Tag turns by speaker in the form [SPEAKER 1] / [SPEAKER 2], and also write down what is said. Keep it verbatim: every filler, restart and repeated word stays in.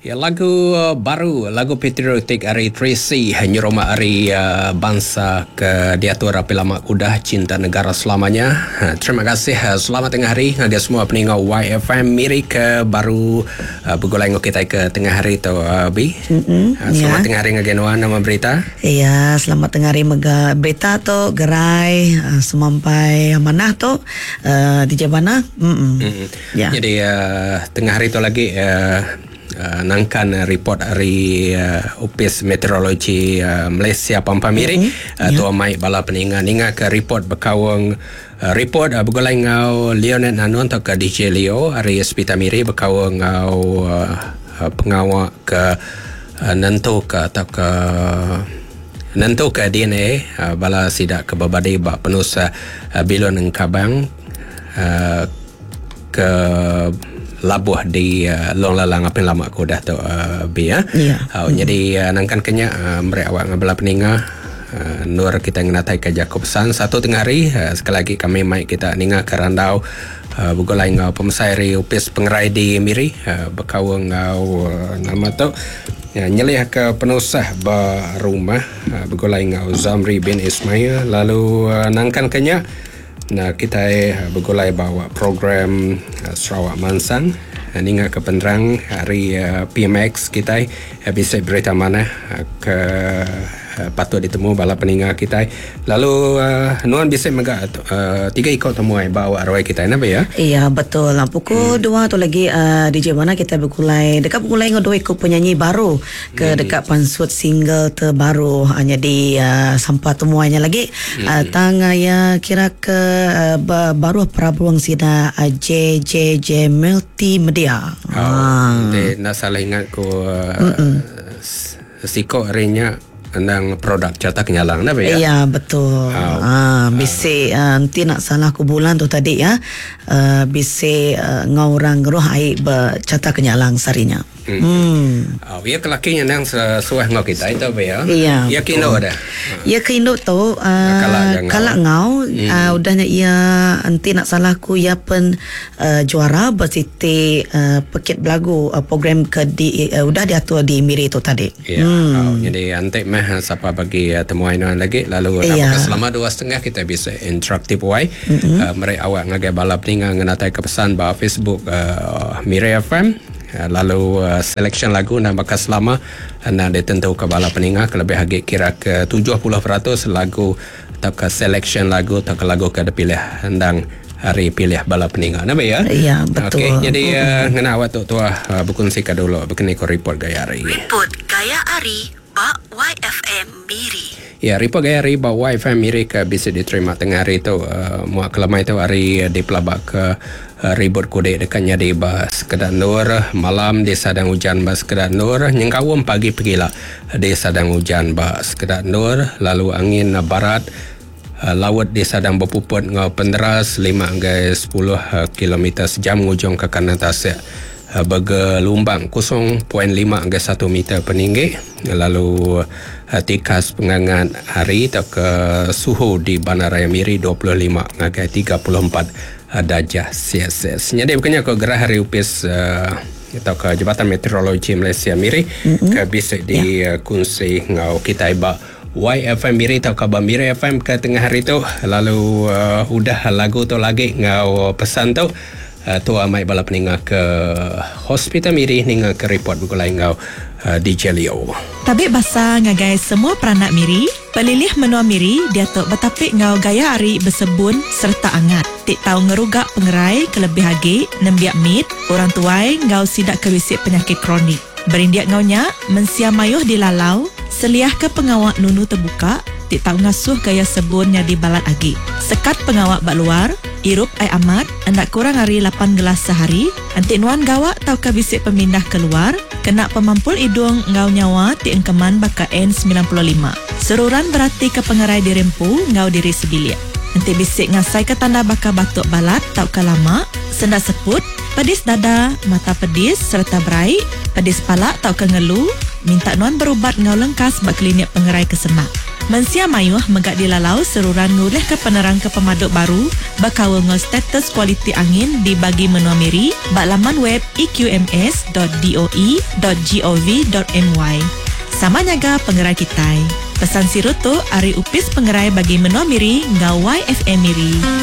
[SPEAKER 1] Ya, lagu baru, lagu patriotik ari Tracy nyeroma ari uh, bangsa ke diatur api lama udah cinta negara selamanya. Ha, terima kasih, selamat tengah hari ngagai semua peninggal Y F M Miri ke baru uh, bergulai ngau kita ke tengah hari tu uh, Bi.
[SPEAKER 2] Mm-hmm,
[SPEAKER 1] ha, selamat
[SPEAKER 2] ya.
[SPEAKER 1] Tengah hari ngagai nuan nama berita.
[SPEAKER 2] Iya, selamat tengah hari mega berita tu gerai uh, semampai manah tu uh, D J mana? Mm-mm.
[SPEAKER 1] Mm-hmm.
[SPEAKER 2] Ya.
[SPEAKER 1] Jadi uh, tengah hari tu lagi uh, Uh, nangkan uh, report dari uh, Ofis Meteorologi uh, Malaysia Pampang Miri
[SPEAKER 2] mm-hmm.
[SPEAKER 1] uh,
[SPEAKER 2] yeah.
[SPEAKER 1] Tua mai bala peninga ninga ke report bekawang uh, report uh, bergulai ngau Leonard Nanun atau ke D J Leo hari Hospital Miri bekawang ngau uh, uh, pengawak ke uh, nentu ke atau ke nentu ke D N A uh, bala sidak ke berbadi bak penusa uh, bilon engkabang uh, ke labuh di uh, Long Lalang apa yang lama aku dah tu uh, bi ya.
[SPEAKER 2] Yeah.
[SPEAKER 1] Uh, mm. Jadi uh, nangkan kenya uh, mereka awak ngabela peninga uh, nur kita ngenatai ke Jacob San satu tengah hari uh, sekali lagi kami mai kita ninga ke randau uh, bergulai ngau pemesai ri upis pengerai di Miri uh, bekawang ngau uh, nama tu ya, nyeliah ke penusah ba rumah uh, bergulai ngau Zamri bin Ismail lalu uh, nangkan kenya. Nah, kita bergulai bawa program uh, Sarawak Mansang. Uh, ninga ke penerang hari uh, P M X kita uh, bisa berita mana uh, ke uh, patut ditemu bala peninga kita. Lalu uh, nuan bisa mega uh, tiga ikut temuai bawa arwah kita napa ya?
[SPEAKER 2] Iya, betul. Pukul
[SPEAKER 1] hmm.
[SPEAKER 2] dua tu lagi uh, D J mana kita bergulai dekat bergulai dengan dua ikut penyanyi baru ke
[SPEAKER 1] hmm.
[SPEAKER 2] dekat pansut single terbaru hanya di uh, sampah temuannya lagi.
[SPEAKER 1] Hmm.
[SPEAKER 2] Uh, tang uh, ya kira ke uh, baru Prabuang sida uh, J J J Multimedia.
[SPEAKER 1] Oh, ah. De, nak salah ingat ku uh, siko harinya tentang produk carta kenyalang napa ya?
[SPEAKER 2] Ya, betul.
[SPEAKER 1] Oh.
[SPEAKER 2] Ah, bisi uh, nanti nak salah ku bulan tu tadi ya. Uh, bisi uh, ngau orang geruh ai bercarta kenyalang sarinya.
[SPEAKER 1] Hmm.
[SPEAKER 2] Hmm.
[SPEAKER 1] Oh, ya kelakinya nang sesuai ngau kita itu apa ya?
[SPEAKER 2] Iya.
[SPEAKER 1] Ya kindo dah.
[SPEAKER 2] Ya kindo tu uh, kalak ngau
[SPEAKER 1] hmm.
[SPEAKER 2] uh, udahnya ia nanti nak salah ku ia pen uh, juara bersiti uh, pekit belagu uh, program ke di uh, udah diatur di Miri tu tadi.
[SPEAKER 1] Ya.
[SPEAKER 2] Hmm.
[SPEAKER 1] Oh, jadi antik mah siapa bagi uh, temuan lagi lalu
[SPEAKER 2] iya.
[SPEAKER 1] Apakah selama dua setengah kita bisa interaktif wai
[SPEAKER 2] mm-hmm.
[SPEAKER 1] uh, mereka awak ngagai balap ninga ngenatai ke pesan ba Facebook uh, Miri F M uh, lalu uh, selection lagu nak bakal selama uh, nak ditentu ke bala peninga kelebih lagi kira ke tujuh puluh peratus lagu atau ke selection lagu atau ke lagu ke dipilih hendang hari pilih bala peninga napa ya?
[SPEAKER 2] Ya, betul.
[SPEAKER 1] Okey, jadi uh, ngena awak tu tua uh, berkongsi ke dulu berkini ko report gaya hari.
[SPEAKER 2] Report gaya hari ba Y F M Miri.
[SPEAKER 1] Ya, report gaya hari ba Y F M Miri ke bisa diterima tengah hari tu uh, muak kelamai tu hari di pelabak ke uh, ribut kudek dekatnya di ba sekedar nur malam di sadang hujan ba sekedar nur nyengkawam pagi pergilah di sadang hujan ba sekedar nur lalu angin barat uh, laut di sadang berpuput ngau penderas lima hingga sepuluh kilometer sejam ngujung ke kanan tasik bergelombang kosong perpuluhan lima hingga satu meter peninggi lalu tikas pengangat hari atau ke suhu di Bandaraya Miri dua puluh lima hingga tiga puluh empat darjah Celsius. Jadi bukannya ke gerah hari upis uh, atau ke Jabatan Meteorologi Malaysia Miri
[SPEAKER 2] mm-hmm.
[SPEAKER 1] ke bisa di
[SPEAKER 2] ya.
[SPEAKER 1] kongsi ngau kita ba Y F M Miri atau khabar Miri F M ke tengah hari tu lalu uh, udah lagu tu lagi ngau pesan tu Uh, tua mai bala peninga ke Hospital Miri ninga ke report bergulai ngau uh, D J Leo.
[SPEAKER 3] Tabik basah ngagai semua peranak Miri, pelilih menua Miri diatok betapik ngau gaya ari bersebun serta angat. Tik tau ngerugak pengerai kelebih agi nembiak mit, orang tuai ngau sidak kewisik penyakit kronik. Berindiak ngaunya mensia mayuh dilalau, seliah ke pengawak nunu terbuka, tik tau ngasuh gaya sebunnya di balat agi. Sekat pengawak bak luar, irup ai amat, hendak kurang hari lapan gelas sehari, antik nuan gawak tau ke bisik pemindah keluar, kena pemampul hidung ngau nyawa ti engkeman baka N sembilan puluh lima. Seruran berarti ke pengerai dirempu ngau diri sebilik. Antik bisik ngasai ke tanda baka batuk balat tau ke lama, sendak seput, pedis dada, mata pedis serta beraik, pedis palak tau ke ngelu, minta nuan berubat ngau lengkas bak klinik pengerai kesemak. Mensia mayuh mega dilalau seruran ngulihka penerang ke pemadu baru bekaul enggau status kualiti angin di Bagi Menua Miri ba laman web eqms dot doe dot gov dot my. Sama nyaga pengerai kitai. Pesan siru tu ari Opis Pengerai Bagi Menua Miri enggau Y F M Miri.